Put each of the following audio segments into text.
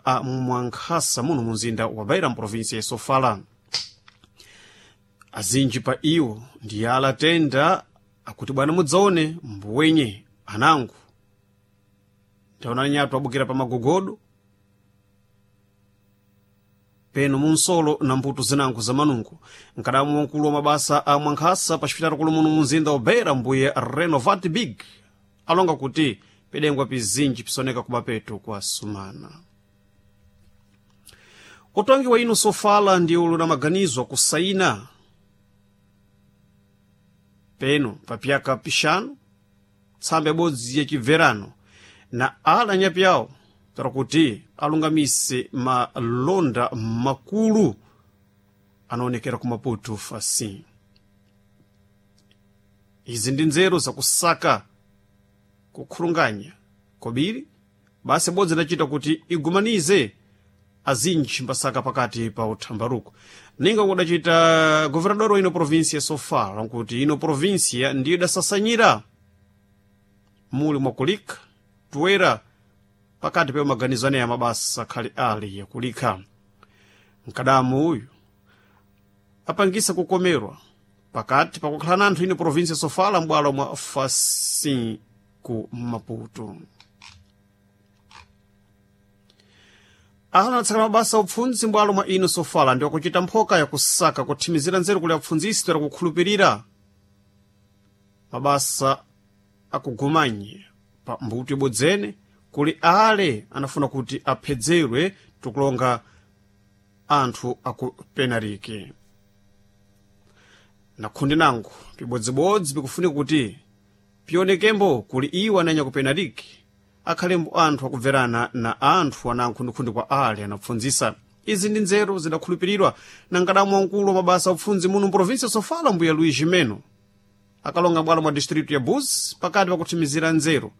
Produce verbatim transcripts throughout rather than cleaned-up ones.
a Mwankhasa muno mu mzinda wa Beira mprovinsi ya Sofala. Azinji pa iwo ndi alatenda akuti bwana mudzaone mbuwenye anangu taonani nyatu abukira pa magogodo peno munsolo na mbuto zinango za manungo. Nkadamu wankulu wa mabasa a Mwankhasa pa xipitalo kulu muno mu mzinda wa Beira mbuye Renovat Big alonga kuti pedengwa pizinji pisoneka kumapeto kwa sumana. Utongi wa ino Sofala ndiwo luna maganizo akusaina peno papyaka pixanu tsamba ibodzi yachibverano na ala anyapi awo tara kuti alungamise malonda makulu anaonekera ku Maputo fasi. Izi ndi nzeru zakusaka kukhulunganya kobiri basi ibodzi idacita kuti igumanize azinji mbasaka pakati pa uthambaruko ninga kudacita governador wa ino provinsia ya Sofala nkuti ino provinsia ndiyo idasasanyira muli mwakulikha toera pakati pa maganizo aneya mabasa khali ali yakulikha. Mkadamu uyu apangisa kukomerwa pakati pakukhala na anthu ino provinsia ya Sofala m'bwalo mwa Facim ku Maputo. Ala anatsaka mabasa upfundzi m'bwalo mwa ino Sofala ndi wakuchita mphoka yakusaka kuthimizira nzeru kuli apfundzisi toera kukhulupirira mabasa akugumanye pa mbuto ibodzene kuli ale anafuna kuti aphedzerwe tikulonga anthu akupenarike. Na khundi nango pibodzibodzi pikufunika kuti pionekembo kuli iwo ananya kupenarike akhalembo anthu akubverana na anthu ana nkhundikhundi kwa ale anapfundzisa. Izi ndi nzeru zidakhulupiridwa na nkadamu wamkulu wa mabasa apfundzi muno mprovinsi ya Sofala mbuya Luís Gimeno akalonga m'bwalo mwa distritu ya Buzi pakati pakuthimizira nzeru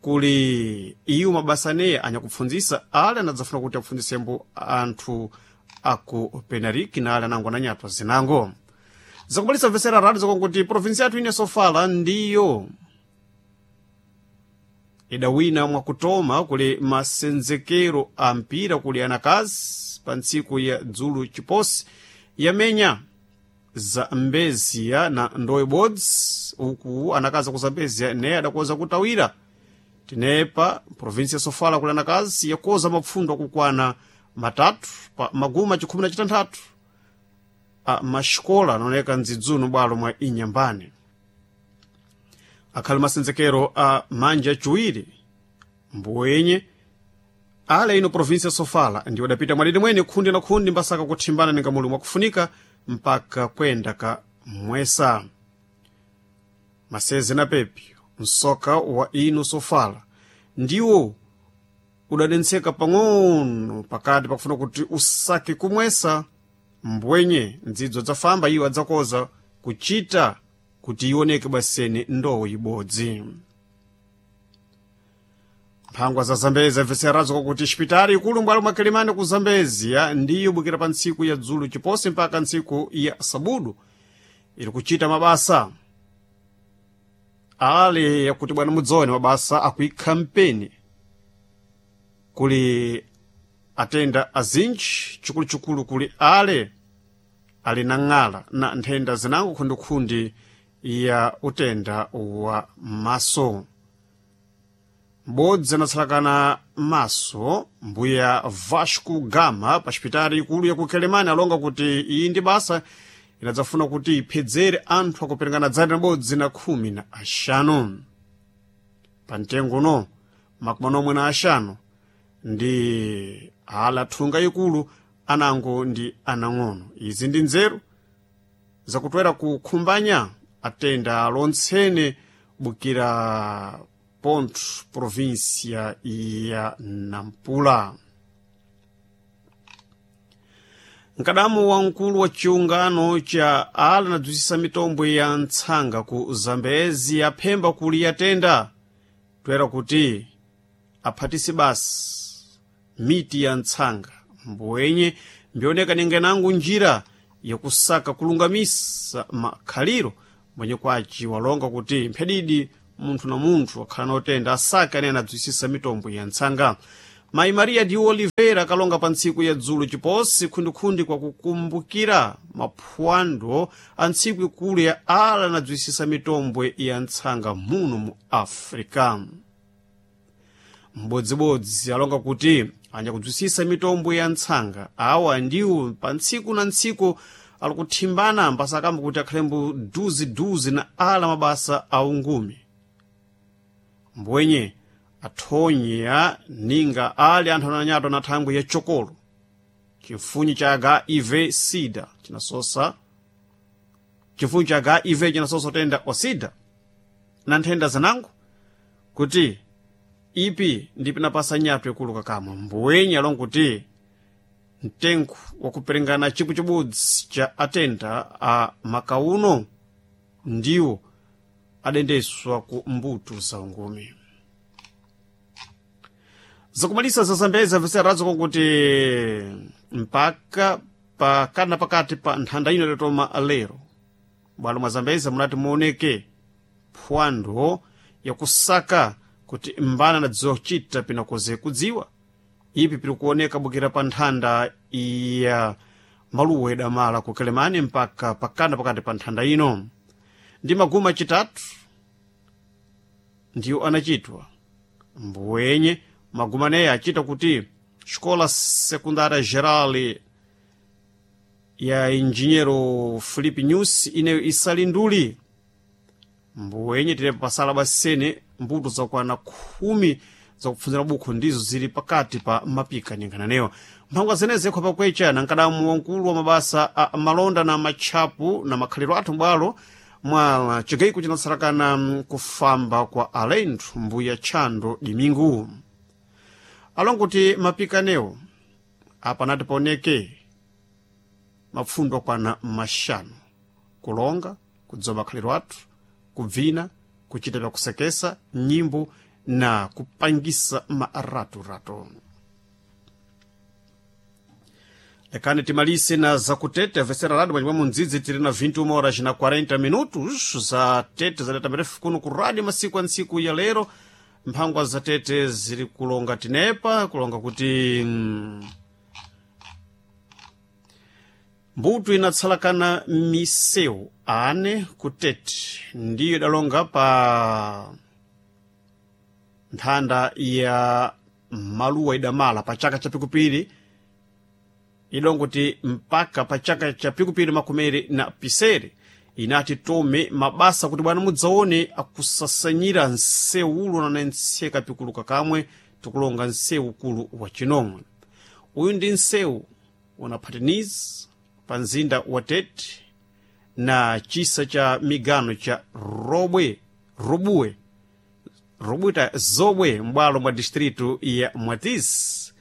kuli iwo mabasa aneya anyakupfundzisa ale anadzafuna kuti apfundzisembo anthu aku Penariki na ale anango ananyatwa zinango. Zakubalisa mvesera radi zakonkuti provinsi yathu ine Sofala ndiyo idawina mwakutoma kuli masenzekero a mpira kuli anakazi pa ntsiku ya dzulu chiposi yamenya Zambezia na ndowe bodzi uku anakazi ku Zambezia neye adakoza kutawira tinepa provinsi ya Sofala kuli anakazi yakoza mapfundo akukwana matatu pa maguma chikhumi na chitanthatu a maxikola anaoneka mdzidzuno bwalo mwa Inyambane. Akhali masenzekero a manja aciwiri mbuwenye ale ino provinsi ya Sofala ndiwo adapita mwadidi mwene khundi na khundi mbasaka kuthimbana ninga muli mwakufunika mpaka kwenda ka mwesa. Maseze na pepyo msoka wa ino Sofala ndiwo udadentseka pang'ono pakati pakufuna kuti usake kumwesa mbwenye ndzidzo adzafamba iwo adzakoza kuchita kuti ioneke basene ndowo ibodzi. Mphangwa za Zambezi amvetserazo kwakuti xipitali ikulu m'bwalo mwa Kilimani ku Zambezia ndiyo bukira pa ntsiku ya dzulu chiposi mpaka ntsiku ya sabudu iri kuchita mabasa ale yakuti bwana mudzone mabasa akuikha mpeni kuli atenda azinji chikuluchikulu kuli ale ali na ng'ala na nthenda zinango khundikhundi ya utenda wa maso. M'bodzi anatsalakana maso mbuya Vasco Gama pa xipitali ikulu ya ku Quelimane alonga kuti iyi ndi basa inadzafuna kuti iphedzere anthu akuperekana dzana libodzi na khumi na axanu. Pa mtengo uno makumi anomwe na axanu ndi ala thunga ikulu anango ndi anang'ono. Izi ndi nzeru zakutwera kukhumbanya atenda lontsene bukira Ponto, província ya Nampula. Nkadamu wamkulu wa chiungano cha ala anadzusisa mitombo ya ntsanga ku Zambezi aphemba kuli yatenda toera kuti aphatise basi miti ya ntsanga mbwenye mbioneka ningenango njira yakusaka kulungamisa makhaliro mwenye kwaci walonga kuti mphedidi munthu na munthu akhala notenda asake anene anadzwisisa mitombo ya ntsanga. Mayi Maria de Oliveira akalonga pa ntsiku ya dzulo chiposi khundikhundi kwa kukumbukira maphwando a ntsiku ikulu ya ala anadzwisisa mitombwe ya ntsanga muno mu Africa. Mbodzibodzi alonga kuti anyakudzwisisa mitombwe ya ntsanga awa ndiwo pa ntsiku na ntsiku ali kuthimbana mbasakamba kuti akhalembo duziduzi na ala mabasa a ungumi. Mbwenye athonya ninga ali anthu ananyatwa na thangwi ya chokolo chifunyi cha H I V sida chinasosa chifunyi cha H I V chinasosa utenda wa sida na nthenda zanango kuti ipi ndipo inapasa nyatwa ikulu kakamwe. Mbwenye alonga kuti mtengo wakuperengana chipwi chibodzi cha atenda a makauno ndiwo adendeswa ku mbuto za ungumi. Zakumalisa za Zambeza viserazo konkuti mpaka pakati na pakati pa nthanda ino idatoma lero bwalo mwa Zambeza munati muoneke phwando yakusaka kuti mbana anadziwa kuchita pinakoze kudziwa ipi piri kuoneka bukira pa nthanda ya maluwa idamala ku Kelemani mpaka pakana pakati pa nthanda ino ndi maguma achitatu ndiwo anachitwa. Mbwenye maguma aneya achita kuti Escola Secundária Geral ya Engenheiro Filipe Nyusi ineyo isali nduli. Mbwenye tinepo pasala basene mbuto zakwana khumi zakupfunzira bukhu ndizo zili pakati pa mapika ninkhananeyo. Mphangwa zeneze ikho pakwecha na nkadamu wankulu wa mabasa a malonda na matchapu na makhaliro athu m'bwalo mwa chigaiko chinatsarakana kufamba kwa alendo mbuya Tchando Dimingu. Alonguti mapikanewo apa anati paoneke mapfundo akwana maxanu: kulonga, kudziwa makhaliro athu, kubvina, kuchita vyakusekesa, nyimbo na kupangisa maraturato. Lekani timalise na zakutete vesera radio mwanyumba mundzidzi tiri na vinte e uma horas na quarenta minutos za tete za data mirefu kuno ku radio masiku a ntsiku ya lero. Mphangwa za tete ziri kulonga tinepa kulonga kuti mm, mbuto inatsalakana misewu ane kutete ndiyo idalonga pa nthanda ya maluwa idamala pa chaka cha pikupiri idongoti mpaka pa chaka cha pikupiri makumeri na pisere inati tome mabasa kuti bwana mudzaone akusasanyira nsewulo nanentseka pikuluka kamwe tikulonga nsewu ukulu wa chinomwe. Uyu ndi nsewu unaphatiniza pa mzinda wa Tete na chisa cha migano cha Robwe Robuwe Robuta Zobwe m'bwalo mwa distritu ya Mwatisi.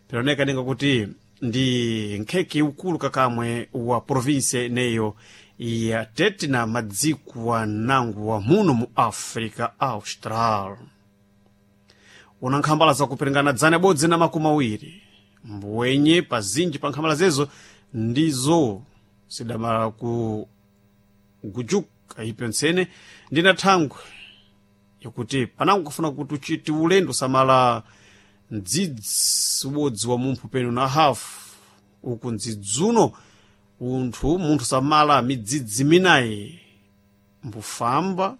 Pinaoneka ninga kuti ndi nkhekhe ukulu kakamwe wa provinsia ineyo ya Tete na madziko wa nangu wa muno mu Africa Austral. Una nkhambala zakuperingana dzana bodzi na makumi awiri mbwenye pazinji pa nkhambala zezo ndizo sidamala ku gujuka ipyo ntsene ndina thangwe yakuti panango kufuna kuti uchite ulendo samala mdzidzi ubodzi wa mumphu penu na hafu uku mdzidzuno unthu munthu samala midzidzi minayi mbufamba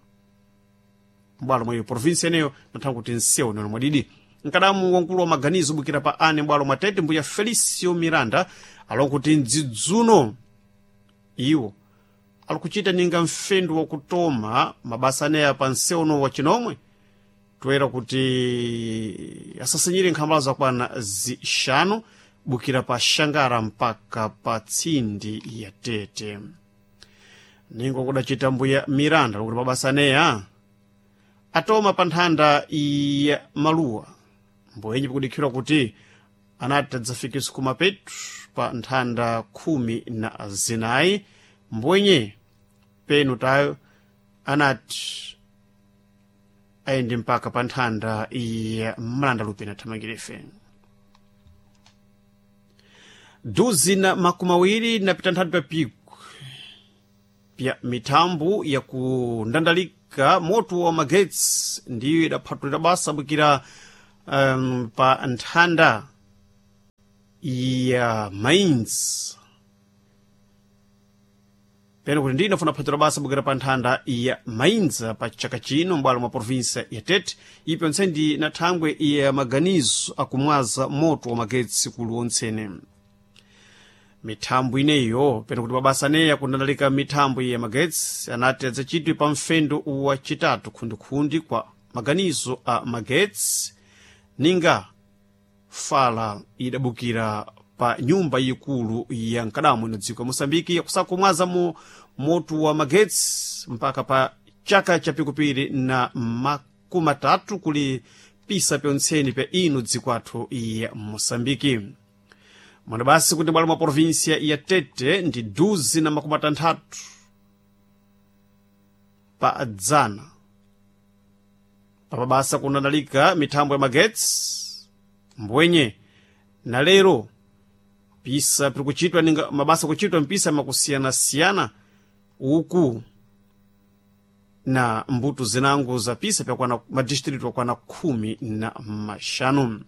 m'bwalo mwa iyo provinsi eneyo natha kuti nsewu neno mwadidi. Nkadamu wankulu wa maganizo bukira pa ane m'bwalo mwa Tete mbuya Felicio Miranda alonga kuti mdzidzuno iwo alikuchita ninga mfendu wakutoma mabasa aneya pa nsewuno wa chinomwe toera kuti asasanyire nkhambala zakwana zixanu bukira pa Xangara mpaka pa tsindi ya Tete. Ningo kudacita mbuya Miranda lokuti mabasa aneya atoma pa nthanda ya maluwa mboyenye pikudikhirwa kuti anati adzafikiso kumapetu pa nthanda khumi na zinayi mbwenye penu tayo anati ayende mpaka pa nthanda ya mlanda lupina thamangirefe. Duzi na makumi awiri napita nthatu pa piku pya mithambo ya kundandalika moto wa magetsi ndiyo idaphatulira basa bukira um, pa nthanda ya Mainz pene kuti ndine funa phatiro basa bukira pa nthanda ya Mainz pa chaka chino m'bwalo mwa provinsia ya Tete. Ipi onse ndi na thangwe ya maganizo akumwaza moto wa magetsi kulu ontsene mithambo ineyo, pene kuti mabasa aneya kundandalika mithambo ya magetsi anati adzachitwe pa mfendo wa chitatu khundikhundi kwa maganizo a magetsi, ninga fala idabukira pa nyumba ikulu ya mkadamo ino dziko ya Moçambike yakusakumwaza mu moto wa magetsi mpaka pa chaka cha pikupiri na makumi atatu kuli pisa pyontseni pya ino dziko athu ya Moçambike. Mwana basi kuti bwalo mwa provinsia ya Tete ndi duzi na makumi atanthatu pa dzana papabasa kundandalika mithambo ya magetsi, mbwenye na lero pisa pirikuchitwa ninga mabasa kuchitwa mpisa makusiyanasiyana uku na mbuto zinango za pisa pyakwana madistritu akwana khumi na maxanu.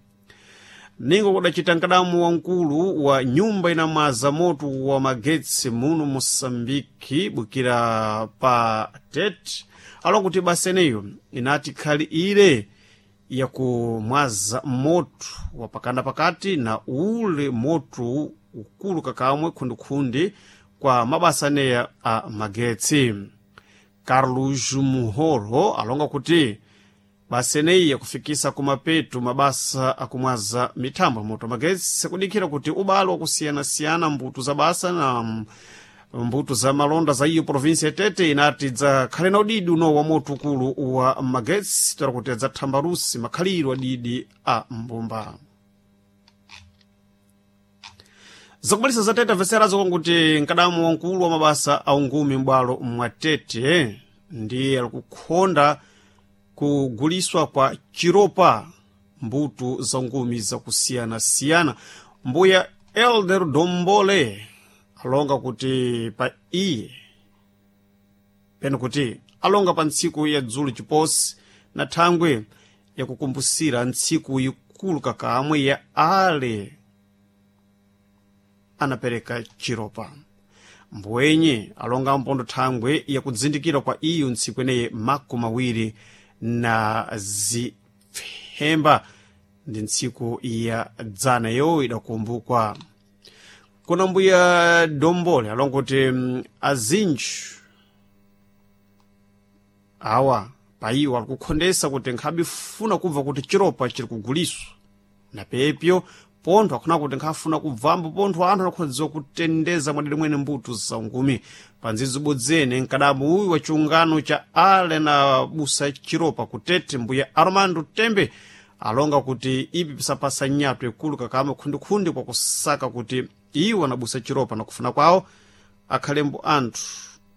Ningo kudacita mkadamu wamkulu wa nyumba inamwaza moto wa magetsi muno Moçambike bukira pa Tete alo kuti basa eneyo inati khali ile yakumwaza moto wapakana pakati na ule moto ukulu kakamwe khundikhundi kwa mabasa aneya a magetsi. Carlos Muhoro alonga kuti basa eneyi yakufikisa kumapeto mabasa akumwaza mithambo ya moto magetsi sikudikhira kuti ubalo wakusiyanasiyana mbuto za basa na mbuto za malonda za iyo provinsi ya Tete inati dzakhale na udidi uno wa moto ukulu wa magetsi toera kuti adzathambalusi makhaliro adidi a mbumba. Zakubalisa za Tete amveserazo kuti mkadamu wamkulu wa mabasa a ungumi m'bwalo mwa Tete ndiye alikukhonda kuguliswa kwa chiropa mbuto za ngumi zakusiyanasiyana. Mbuya Elder Dombole alonga kuti pa iye pene kuti alonga pa ntsiku ya dzulo chiposi na thangwe yakukumbusira ntsiku ikulu kakamwe ya ale anapereka chiropa, mbwenye alonga mpondo thangwe yakudzindikira kwa iyo ntsiku ineyi makumi awiri na zipfemba ndi ntsiku ya dzana yo idakumbukwa. Kuna mbuya Dombole alonga kuti azinji awa paiwo alikukhondesa kuti nkhabifuna kubva kuti chiropa chiri kuguliswa na pepyo pontho akhona kuti nkhafuna kubvambo pontho anthu anakhodziwa kutendeza mwadere mwene mbuto za ungumi. Panzidzibodzene mkadamu uyu wa chiungano cha ale na busa chiropa kutete mbuya Armando Tembe alonga kuti ipi pisapasa nyato ikulu kakama khundikhundi kwa kusaka kuti iwo anabusa chiropa na kufuna kwawo akhalembo anthu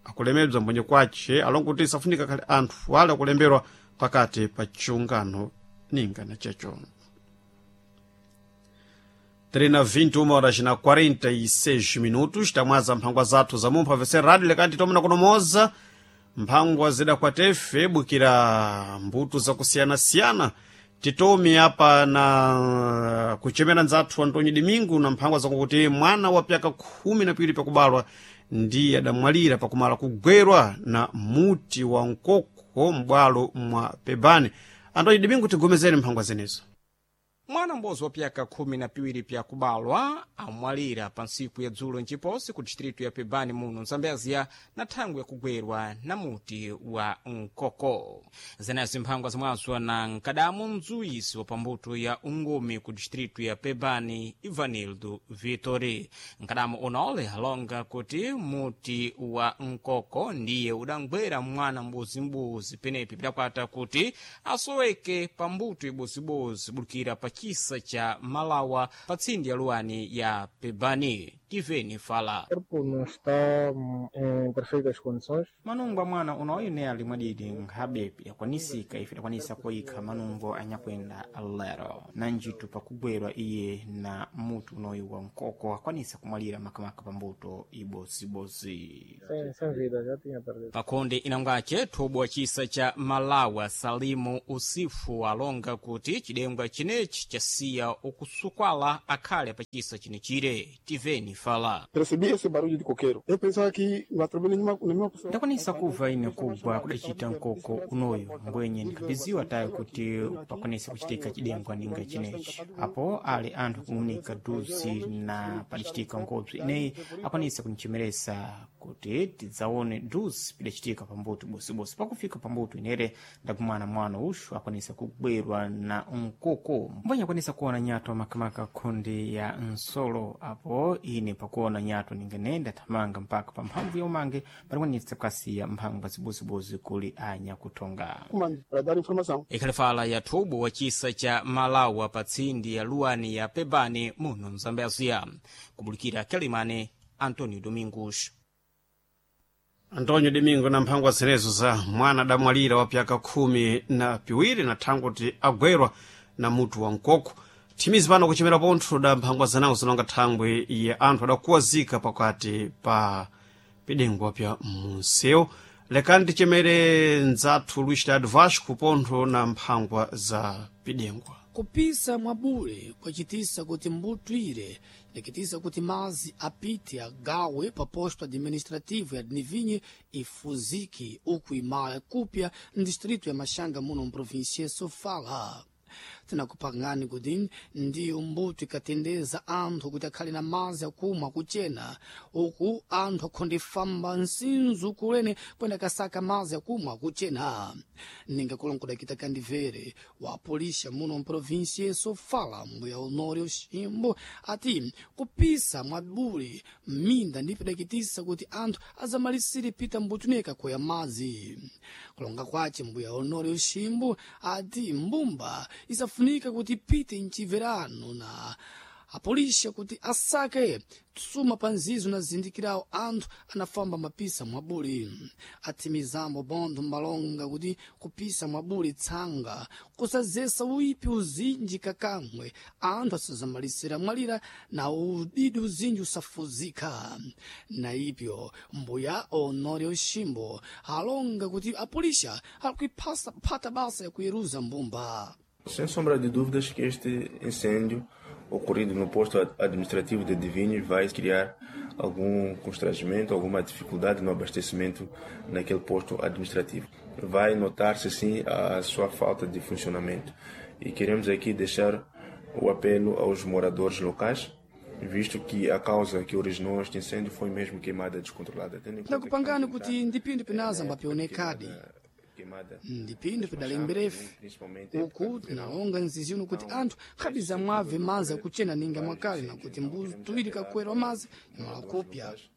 akulemedwa mbwenye kwace. Alonga kuti isafunika akhale anthu wale akulemberwa pakati pa chiungano ninga na checho. Trina vinte e uma horas na quarenta e seis minutos, tamwaza mphangwa zathu za mumpha vese radio lekati tomena kunomoza mphangwa zida kwa tefe bukira mbuto zakusiyanasiyana. Titomi apa na kuchemera nzathu Antonio Domingo na mphangwa zakuti mwana wa pyaka khumi na piwiri pakubalwa ndiye adamwalira pakumala kugwerwa na muti wa mkoko m'bwalo mwa Pebane. Antonio Domingo, tigomezeni mphangwa zenezo. Mwana m'bodzi wa pyaka khumi na piwiri pyakubalwa amwalira pa ntsiku ya dzulo nciposi ku distritu ya Pebani muno Mzambezia na thangwi yakugwerwa na muti wa mkoko. Zenezo mphangwa zimwazwa na mkadamu mzuwisi wa pambuto ya ungumi ku distritu ya Pebani, Ivanildo Vitori. Mkadamu unaole alonga kuti muti wa mkoko ndiye udangwera mwana mbuzimbudzi penepi pidakwata kuti asoweke pambuto ibozibozi bulukira pa chisa cha Malawa pa tsindi ya luwani ya Pebani. Tiveni fala. O corpo não está hum, em perfeitas condições. Manungo amwana unoyu ne ali mwadidi nkhabepi akwanisika ife idakwanisa kuyikha manungo anyakwenda lero na njitu pakugwerwa iye na mutu unoyu wa mkoko akwanisa kumwalira makamaka pambuto ibozibodzi. Sem, sem vida, já tinha perdido. Pakhonde inangwace thobo wa chisa cha Malawi Salimu Usifu alonga kuti chidengwa chinechi chasiya ukusukwala akhale pa chisa chinechire. Tiveni fala. Percebi esse barulho de coqueiro. Eu pensava que não atropelei nenhuma, nenhuma pessoa. Ndakwanisa kubva ine kugwa kudacita mkoko unoyu mbwenye ndikhapiziwa tayo kuti pakwanisa kuchitika chidengwa ninga chinechi apo ali anthu kumunika duzi na padacitika ngobzi ineyi akwanisa kunichemeresa kuti tidzaone duzi pidacitika pambuto bosibosi. Pakufika pambuto inere ndakumana mwana uxu akwanisa kugwerwa na mkoko mbwenye akwanisa kuona nyato makamaka khonde ya nsolo apo ine pakuona nyato ningene ndathamanga mpaka pa mphamvu ya umange patikwanisa kukasiya mphangwa zibozibozi kuli anya kuthonga. Comando para dar informação. Ikhalifala ya thubo wa chisa cha Malawi pa tsindi ya luwani ya Pebani muno Mzambezia. Kubulikira Kelimane, Antonio Domingos. Antonio Domingo na mphangwa zenezo za mwana adamwalira wa pyaka khumi na piwiri na thangwe kuti agwerwa na mutu wa mkoko. Thimizi pano kuchimera pontho da mphangwa zanawo zinonga thangwe ya anthu adakuwazika pakati pa pidengwa pya munsewu. Lekani tichemere ndzathu Luis Tado Vasco pontho na mphangwa za pidengwa. Kupisa mwabule kwacitisa kuti mbutwire ndikitisa kuti mazi apite agawe pa posto administrativo ya Dnivinhe ifuzike uku imala kupya ndistrito ya Machanga muno mprovinsia ya Sofala. Tinakupangani kuti ndiyo mbuto ikatendeza anthu kuti akhale na mazi akumwa akuchena uku anthu akhondifamba nsinzu kulene kwenda kasaka mazi akumwa akuchena. Ninga kulongola kita kandivere wa polisha muno mprovinsia ya Sofala mbuya Honório Ximbo ati kupisa mwabule minda ndipo idakitisa kuti anthu azamalisire pita mbutuneka koya mazi. Kulonga kwace mbuya Honório Ximbo ati mbumba isafunika kuti ipite mchiverano na apolisha kuti asake tsuma pa nzizo na zindikirawo anthu anafamba mapisa mwabuli. Athimizambo bontho mbalonga kuti kupisa mwabuli tsanga kusazesa uipi uzinji kakamwe anthu asazamalisira mwalira na udidi uzinji usafuzika. Na ipyo mbuya Honório Ximbo alonga kuti apolisha alikuiphasa phata basa yakuyeruza mbumba. Sem sombra de dúvidas que este incêndio ocorrido no posto administrativo de Divinhos vai criar algum constrangimento, alguma dificuldade no abastecimento naquele posto administrativo. Vai notar-se sim a sua falta de funcionamento. E queremos aqui deixar o apelo aos moradores locais, visto que a causa que originou este incêndio foi mesmo queimada descontrolada. Tendo em conta que Ndakupangani estamos a kuti entrar ndipindu pinaza na época de mbapionekadi queimada, queimada ndipindu nas pidalemberefe machamas, principalmente época uku de verão. tinalonga nzizino kuti Então, anthu estes khabiza mwabve setores mazi akuchena ninga vários mwakale incêndios. nakuti Então, mbuzi queremos tuwiri apelar kakwerwa para mazi os imala moradores kupya. locais,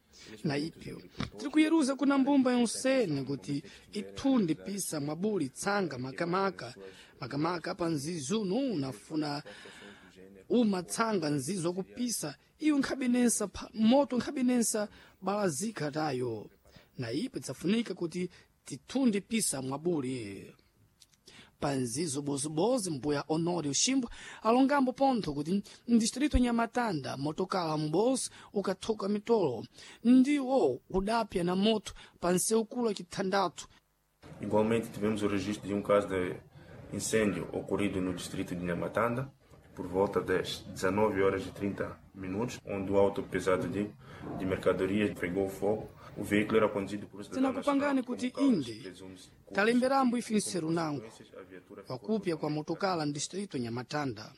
Na principalmente os ipyo agricultores, tiri kuyeruza kuna para que mbumba prestem yonsene atenção no kuti momento que estiverem a ithunde realizar pisa mwabuli tsanga a queimada nas makamaka suas makamaka culturas, pa nzizuno unafuna situações do gênero, uma tsanga nzizo akupisa iyo nkhabinensa pha- moto nkhabinensa balazika tayo. Na ipo idzafunika kuti tithunde pisa mwabuli. Panzizo bozibozi mbuya Honório Ximbo alongambo pontho kuti mdistrito Nyamatanda motokala m'bozi ukathoka mitolo ndiwo udapya na moto pa nseukulu chithandathu. Igualmente, tivemos o registro de um caso de incêndio ocorrido no distrito de Nhamatanda, por volta das dezenove horas e trinta minutos, onde o auto pesado de, de mercadorias pegou fogo. O veículo era conduzido por um cidadão nacional. Tinakupangani Como kuti causas, inde presume-se curtos-circuito. talemberambo ife Como nseru nango consequências, a viatura ficou wakupya kwa totalmente motokala mdistrito Nyamatanda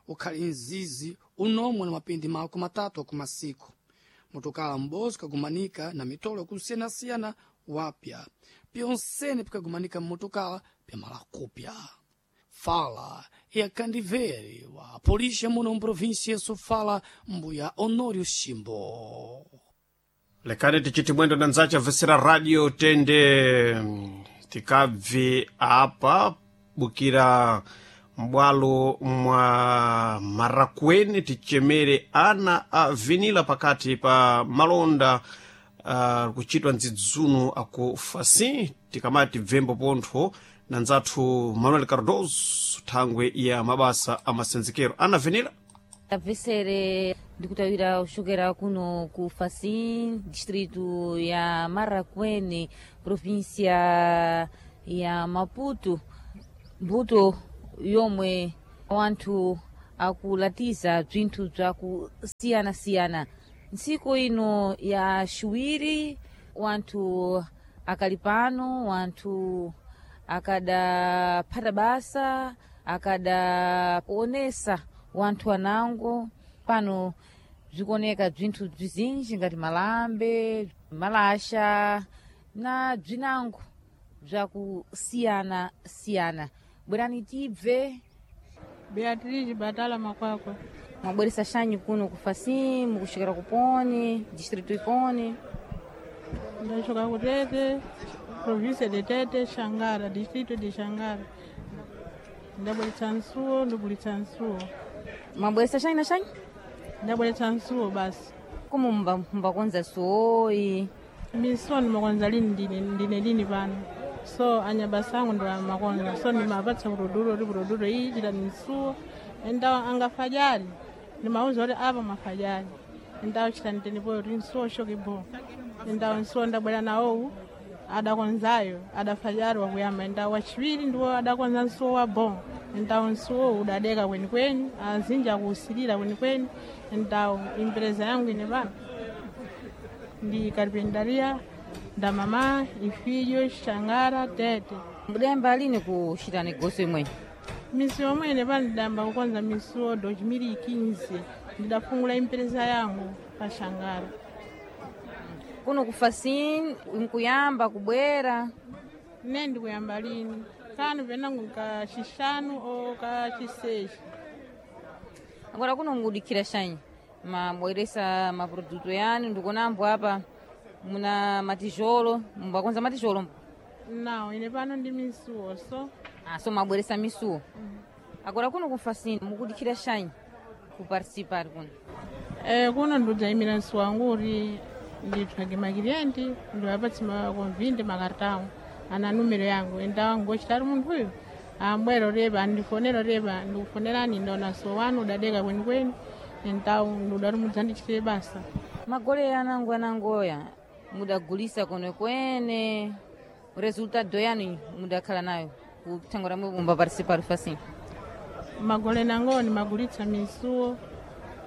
ukhali nzizi unomwe na mapindi mako matatu akumasiku. Motokala m'bozi kagumanika na mitolo yakusiyanasiyana wapya pyonsene pikagumanika mmotokala pyamala kupya. Fala yakandivere wa polisha muno mprovinsia ya Sofala mbuya Honório Ximbo. Lekani tichiti mwendo na nzacha vesera radio tende mm, tikabve apa bukira m'bwalo mwa Marakwene tichemere ana a vinila pakati pa malonda uh, kuchitwa ndzidzuno aku Fasin. Tikamati bvembo pontho na ndzathu Manuel Cardoso thangwe ya mabasa amasenzekero. Ana Venila. Tapesere ndikutawira kuchokera kuno ku Facim, distrito ya Marracuene, província ya Maputo. Mbuto yomwe wanthu akulatiza bzinthu bzakusiyana-siyana. Ntsiku ino ya ciwiri wanthu akali pano, wanthu akadaphata basa, akadaonesa wanthu anango pano. Bzikuoneka bzinthu bzizinji ngati malambe, malasha na bzinango bzakusiyana-siyana. Bwerani tibve. Beatriz Batala Makwakwa. Mwabweresa xanyu kuno ku Facim, mukuxokera kuponi, distrito iponi? Ndachoka ku Tete, província de Tete, Xangara, distrito de Xangara. Ndabweretsa nsuwo, ndibulitsa nsuwo. Mwabweresa xanyu na xanyu? Ndabweretsa nsuwo basi. Como mbakonza suwoyi? Misuwo ndimakonza lini ndine, ndine lini pano. So anyabasa angu ndo amakonza, so ndimapatsa kuroduro ri kuroduro iyi chita misuwo. Endawo angafajali ndimauza kuti apa mafajali, endawo chita nditenipoyo kuti nsuwo shoke bo. Endawo nsuwo ndabwera nawowu adakonzayo adafajali wakuyamba, endawo wachiwiri ndiwo adakonza nsuwo wa bo. Endawo nsuwo udadeka kwenikweni, azinji akuusilira kwenikweni. Endawo impereza yangu ine pano ndi carpintaria ndamama ifilho Xangara Tete. Mudayamba lini kuchita negoso imwe? Misuwo omwene pano ndidayamba kukonza misuwo dois mil e quinze, ndidafungula empresa yangu pa Xangara. Kuno ku Facim nkuyamba kubwera? Ne ndikuyamba lini kanu penangu kacixanu o kaciseis. Agora kuno ngudikhira xanyi mabweresa maproduto yanu? Ndikunambo apa muna matijolo, mbakonza matijolo? Não, ine pano ndi misuwo so. Ah, so mabweresa misuwo. Agora kuno ku Facim mukudikhira xanyi kuparticipar kuno? Eh, kuno ndidzayimira msuwo wangu kuti nditsvage makiliyenti, ndiwapatse makonvindi makartão ana numero yangu, endawo ngochitari munthuyu ambwera repa andifonera repa ndikufonerani, ndaona msuwo wanu udadeka kwenikweni, endawo ndudati mudzandichitire basa. Magole anango anangoya mudagulisa kwenekwene, resultado yanu mudakhala nayo kuthango ramwe mumba participar Facim? Magole nango ndimagulitsa misuwo,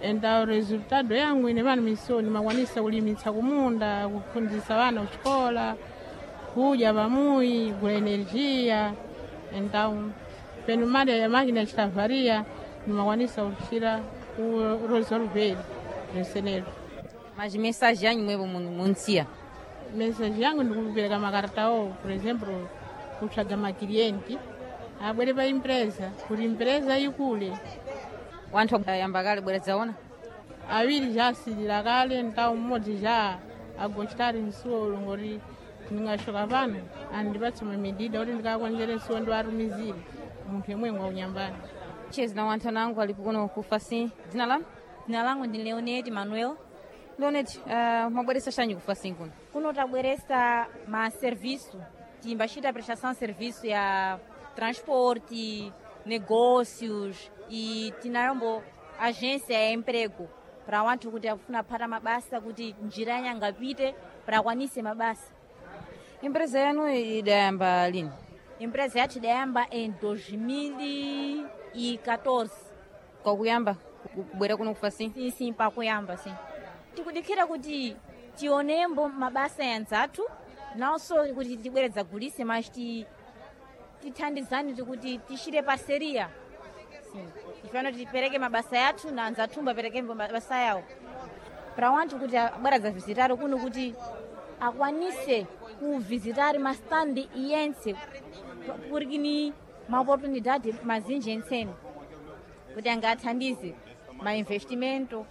endawo resultado yangu ine pano misuwo ndimakwanisa kulimitsa kumunda, kuphunzitsa vana kuxikola, kudya pamuyi, gula energia. Endawo peno mali ya makina chitavaria ndimakwanisa kuchira ku resolver bzinsenezo. Mas mensagem yanyu mwepo munsiya? Mensagem yangu ndikupereka makartao, por exemplo kutsvaga makilienti abwere pa empresa kuti empresa ikule. Wanthu ayamba kale bwera dzaona? Awiri já asilira kale, ntawo mmodzi já agochitari msuwo ulongoti ndingashoka pano andipatse mamedida kuti ndikakonzere msuwo ndiwatumizire munthu yemwe wakunyambani. Chezi na wanthu anango alipo kuno ku Facim. Dzina lanu? Dzina langu ndi Leonete Manuel. Leonete, uh, mwabweresa xanyi ku Facim kuno? Kuno tabweresa ma serviço, timbachita prestação de serviço ya transporte, negócios e tinayombo agência ya emprego para wanthu kuti akufuna kuphata mabasa kuti njira yangapite para akwanise mabasa. Empresa yanu idayamba lini? Empresa yathu idayamba em dois mil e catorze. Kwakuyamba kubwera kuno ku Facim? Sim, sim, pakuyamba sim. Tikudikhira kuti tionembo mabasa yanzathu nawonso kuti tibwereza gulise, mas ti tithandizane tikuti tixire parceria. Sim. Tifano tipereke mabasa yathu na anzathu apereke mabasa yawo para wanthu kuti abweradza visitari kuno kuti akwanise kuvizitari mastandi yense porque ni maoportunidade mazinji entsene kuti angathandize mainvestimento.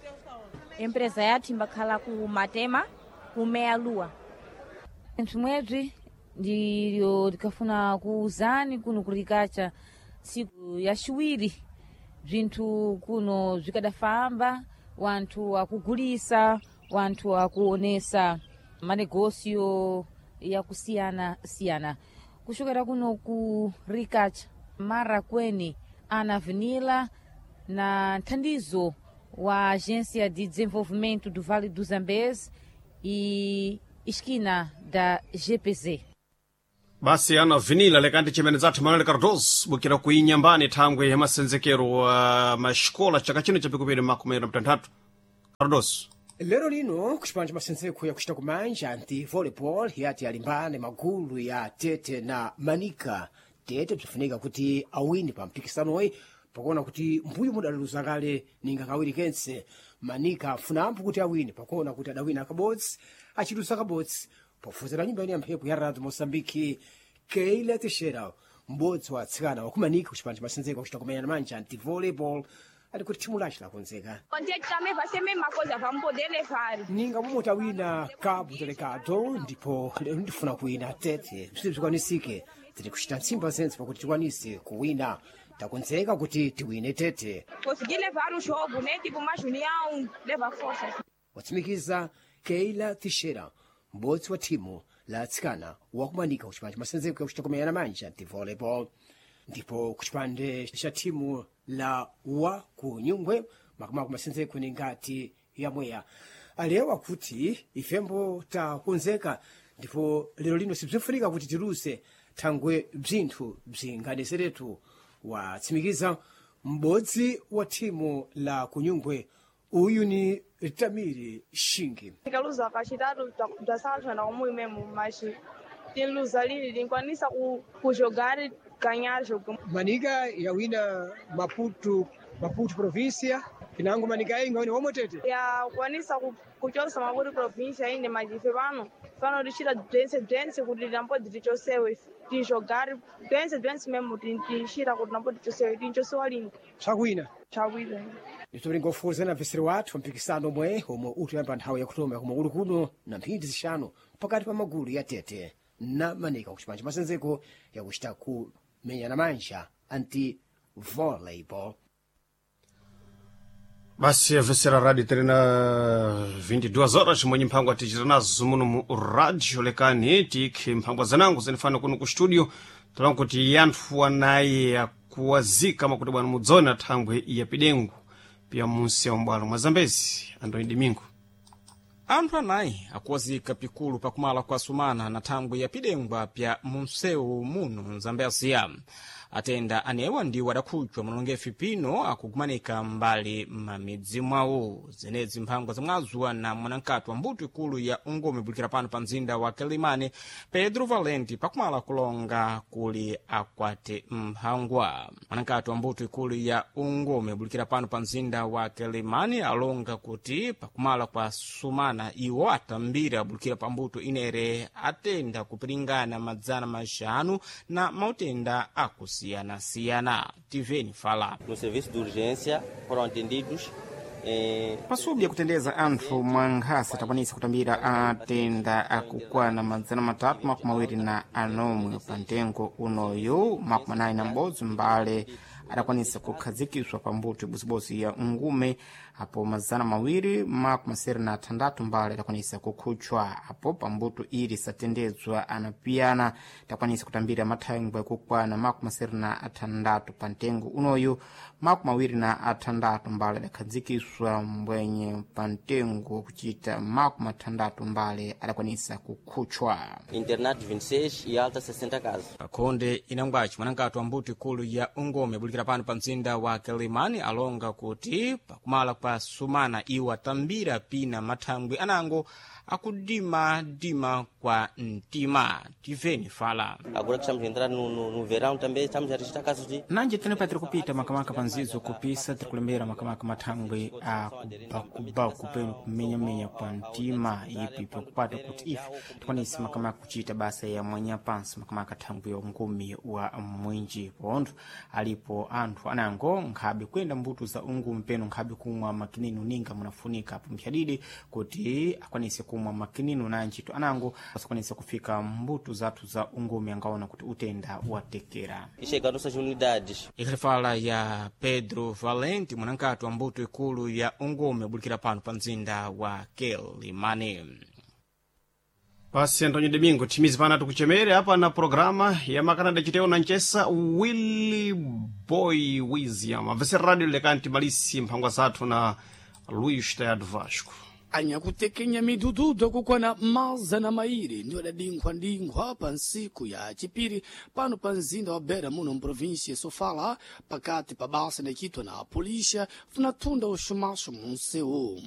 Empresa yathu imbakhala ku Matema, ku Meia Lua. Nthu mwebzi ndilyo tikafuna kuuzani kuno kulikacha. Tsiku yaciwiri bzinthu kuno zvikadafamba, wanthu akugulisa, wanthu akuonesa manegosio yakusiyana-siyana. Kuchokera kuno ku Ricach Mara kweni Ana Avenila na nthandizo wa Agência de Desenvolvimento do Vale do Zambeze e esquina da G P Z. Basi ana vinila lekandi chimene zathu Manuel Cardoso bukira kuinyambani thangwe ya masenzekero wa maxikola chaka chino chapikupiri makumi na mtanthatu. Cardoso. Lero lino kuchipanja masenzeko yakuchita kumanja anti volleyball yati alimbane magulu ya Tete na Manika. Tete bzifunika kuti awini pa mpikisanoyi pakuona kuti mbuyo mudaluza kale ninga kawiri kense. Manika afunampo kuti awine pakuona kuti adawina kabodzi achiluza kabodzi. Pofuzira nyumba ine ya mphepo ya Radio Mosambiki, Keila Teixeira, m'bodzi wa atsikana wakumanika kuchipanja masenzeko akuchita kumenya manja anti volleyball, ali kuti thimu lace lakonzeka. Contente também vai ser a mesma coisa, vamos poder levar. Ninga momwe tawina Cabo Delegado, ndipo lero ndifuna kuwina Tete. Bziti bzikwanisike tiri kuchita ntsimba zentse pakuti tikwanise kuwina. Takonzeka kuti tiwine Tete. Conseguir levar o jogo, né? Tipo, mais união, levar força. Watsimikiza Keila Teixeira, m'bodzi wa thimu la atsikana wakumanika kuchipande masenzeko yakuchita kumenyana manja ndi volleyball. Ndipo kuchipande cha thimu la wa ku Nyungwe, makamaka masenzeko ni ngati yamweya, alewa kuti ifembo takonzeka ndipo lero lino sibzifunika kuti tiluze thangwe bzinthu bzinganeseretu. Watsimikiza m'bodzi wa thimu la kunyungwe, uyu ni Tamiri Shingi. Tikaluza kachitatu tasala na umwe mesmo, mas tiluza lili tinkwanisa ku kujogar ganhar jogo. Manika yawina Maputo, Maputo província, pinango Manika inga wine omwe Tete. Yakwanisa ku- kuchosa Maputo província ine, mas ife pano pano tichita dance dance kuti timbodzi tichosewe tijogar dance dance mesmo tichita kuti timbodzi tichosewe tinchosewa lini. Tsakwina. Tsakwina. Nditolingofuza na mveseri wathu mpikisano omwe omwe utiyamba nthawi yakutoma komwe uli kuno na mphindi zixanu pakati pa magulu ya Tete na Manika kuchipanja masenzeko yakuchita kumenyana manja anti volleyball. Basi avesera radio tiri na vinte e duas horas mwenye mphangwa tichita nazo muno mu radio. Lekani tikhe mphangwa zanango zinifana kuno ku studio talangu kuti yanthu anayi akuwazika makuti bwana mudzona thangwe ya pidengu pia munsi ya umbwalo mwa Zambezi. Andoni Domingo. Anthu anayi akuwazika pikulu pakumala kwa sumana na thangwi ya pidengwa pya munsewu muno Mzambeziya. Atenda anewa ndiwo adakhutchwa mulongefi pino akugumanika mbali m'mamidzi mwawo. Zenezi mphangwa zamwazuwa na mwanankati wa mbuto ikulu ya ungumi bulikira pano pa mzinda wa Quelimane, Pedro Valenti, pakumala kulonga kuli akwate mphangwa. Mwanankati wa mbuto ikulu ya ungumi bulikira pano pa mzinda wa Quelimane alonga kuti pakumala kwa sumana iwo atambira bulikira pa mbuto inere atenda kupiringana madzana maxanu na mautenda akusiyana-siyana. Tiveni fala. No serviço de urgência foram atendidos eh, Pasubu yakutendeza anthu mwa nkhasa takwanisa kutambira atenda akukwana madzana matatu makumi awiri na anomwe. Pa mtengo unoyu makumi anayi na m'bodzi mbale adakwanisa kukhazikiswa pa mbuto ibozibodzi ya ungume, apo mazana mawiri makumi asere na athandatu mbale adakwanisa kukhutchwa, apo pa mbuto ili satendedzwa anapiyana takwanisa kutambira mathangwe kukwana makumi asere na athandatu. Pa mtengo unoyu makumi awiri na athandatu mbale adakhazikiswa mbwenye pa mtengo kuchita makumi athandatu mbale adakwanisa kukhutchwa. Internados vinte e seis e alta sessenta casos. Pakhonde inangwaci mwanankati wa mbuto ikulu ya ungome bulikira pano pa mzinda wa Quelimane alonga kuti pakumala kwa sumana iwo atambira pina mathangwi anango akudimadima kwa mtima. Tiveni fala. Agora que estamos a entrar no, no, no verão também estamos a registrar casos de Nanje tenepa tiri kupita makamaka pa nzizo kupisa tiri kulembera makamaka mathangwi a kubakubaku penu kumenyamenya kwa mtima ipi pakupata kuti ife tikwanise makamaka kuchita basa ya mwanya pansi makamaka thangwi ya ungumi wa mwinji pontho alipo anthu anango nkhabe kuyenda mbuto za ungumi penu nkhabe kumwa. makininu ninga munafunika apo mpyadidi kuti akwanise kumwa makininu na ntchito anango asakwanise kufika mbuto zathu za ungumi angaona kuti utenda watekera E chega nossas unidades. Ikhalifala ya Pedro Valente mwanankati wa mbuto ikulu ya ungumi abulikira pano pa mzinda wa Quelimane. Pasi Antonio Domingo timizi pana tikuchemere apa na programa ya makanada chiteo na nchesa Willy Boy William amvese radio lekanti malisi mphangwa zathu na Luis Tayado Vasco. Anyakutekenya midududu akukwana mazana mairi ndiwo adadinkhwa-dinkhwa pa ntsiku ya chipiri pano pa mzinda wa Beira muno mprovinsia ya Sofala pakati pa basa inachitwa na polícia funatunda uxumaxo munsewu.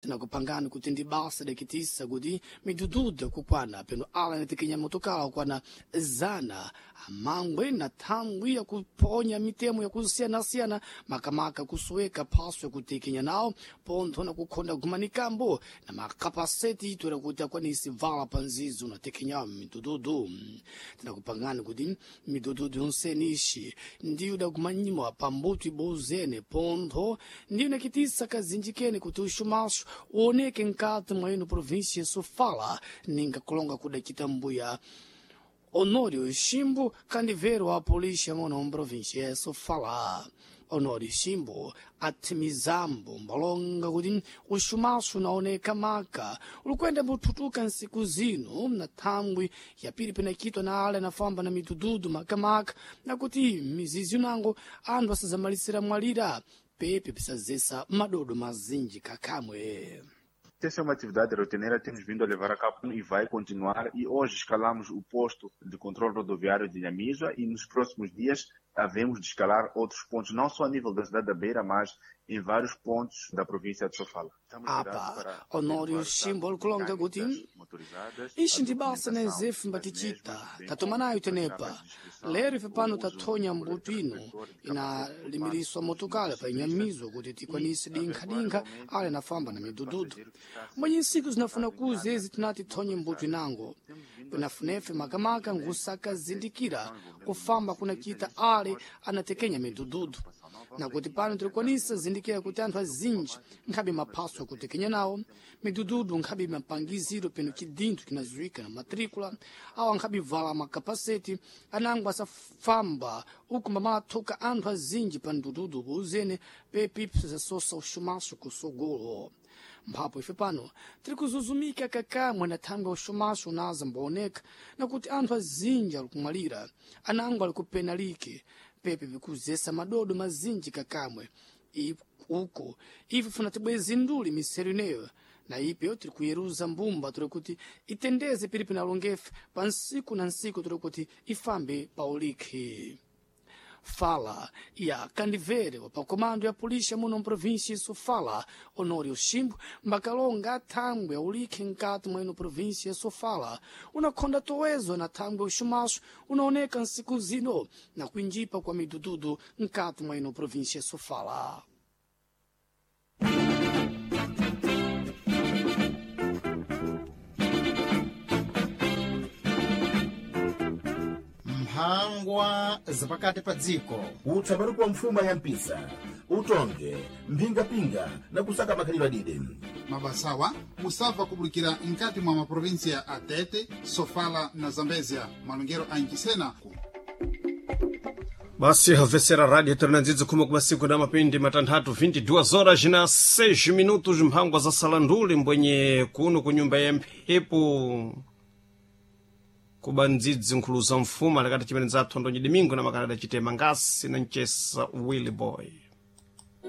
Tinakupangani kuti ndi basa dakitisa kuti midududu akukwana peno ala inatekenya motokala akukwana zana amangwe na thangwi yakuponya mitemo yakusiyanasiyana makamaka kusoweka phaso yakutekenya nawo pontho na kukhonda gumanikambo na makapaseti itwera kuti akwanise vala pa nzizo natekenyawo midududu. Tinakupangani kuti midududu yonsene ixi ndiyo dakumanyiwa pa mbuto ibozene pontho ndiyo inakitisa kazinji kene kuti uxumaxo uoneke nkati mwa ino província ya Sofala ninga kulonga kudacita mbuya Honório Chimbo, candiveiro à polícia muno província ya Sofala. Honório Chimbo atimizambo mbalonga kuti uxumaxo unaoneka maka ulikwenda muthutuka nsiku zino na thangwi yapiri penakitwa na ale anafamba na midududu makamaka na kuti mizizi unango anthu asazamalisira mwalira pepe pisazesa madodo mazinji kakamwe. Essa é uma atividade rotineira que temos vindo a levar a cabo e vai continuar. E hoje escalamos o posto de controle rodoviário de Inhamizua e nos próximos dias havemos de escalar outros pontos, não só a nível da cidade da Beira, mas em vários pontos da província de Sofala. Estamos Apa Honório Chimbo likulonga kuti ixi ndi basa na ezefu mbatichita tatoma nayo tenepa lero ife pano tathonya mbuto ino inalimiriswa motokala pa Inhamizua kuti tikwanise dinkhadinkha ale anafamba na midududu mwenye nsiku zinafuna kuza ezi tinati thonye mbuto inango pinafunefe makamaka ngusakazindikira kufamba kunachita ale anatekenya midududu nakuti pano tilikwanisa zindikira kuti anthu azinji nkhabe maphaso akutekenya nawo midududu nkhabe mapangiziro peno chidinthu chinaziwika na matricula awo ankhabe vala makapaseti anango asafamba uku mbamathuka anthu azinji pa mdududu uzene pepi zasosa uxumaxo kusogolo. Mphapo ife pano tiri kuzuzumika kakamwe na thangwi ya uxumaxo unaza mbaoneka nakuti anthu azinji ali kumwalira anango ali kupenalike pepe vikuzesa madodo mazinji kakamwe I- uko ife funa tibwezi nduli misero ineyo na ipeyo tiri kuyeruza mbumba tiri kuti itendeze piripi na longefe pa nsiku na nsiku tiri kuti ifambe pa ulikhi. Fala ya kandivere wa pakomando ya polícia muno mprovíncia ya Sofala Honório Chimbo mbakalonga athangwe aulikhe nkati mwa ino província ya Sofala unakhonda towezo na thangwe uxumaxo unaoneka nsiku zino na kuinjipa kwa midududu nkati mwa ino província ya Sofala. Mphangwa zapakati pa dziko. Utsabaruku wa mfuma ya mpisa utonge mphingapinga na kusaka makhalidwe adide. Mabasawa musabva kubulikira nkati mwa maprovinsia a Tete, Sofala na Zambezia malongero a Nchisena. Basi havesera radio ternandzidzi khumi kumasiku na mapindi matanthatu vinte e duas horas na seis minutos mphangwa za salanduli mbwenye kuno ku nyumba ya mphepo kuba ndzidzi nkhulu za mfuma lakati chimene zathu Antonio Domingo na makanada chitema ngasi na mchesa Willy Boy.